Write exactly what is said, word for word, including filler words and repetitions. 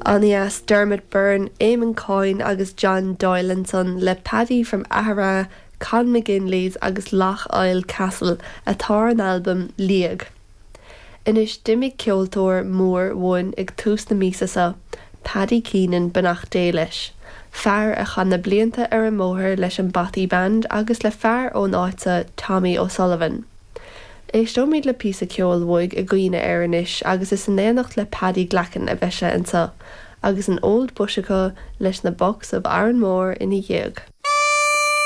An-dheas Dermot Byrne, Eamon Coyne agus John Doyle ansan le Paddy from Aghara, Con McGinley's agus Lough Oil Castle atá ar an albam Liag. Anois d'imigh ceoltóir mór uainn ag tús na míosa seo, Paddy Keenan beannacht Dé leis. Fear a chaith na blianta ar an mbóthar leis an Bothy Band agus le fear ón áit seo Tommy O'Sullivan. Éisteoimid le píosa ceoil uaidh i gcuimhne air anois agus is in éineacht le Paddy Glackin a bheidh sé anseo, agus an Old Bush acu leis na Bucks of Arranmore ina dhiaidh.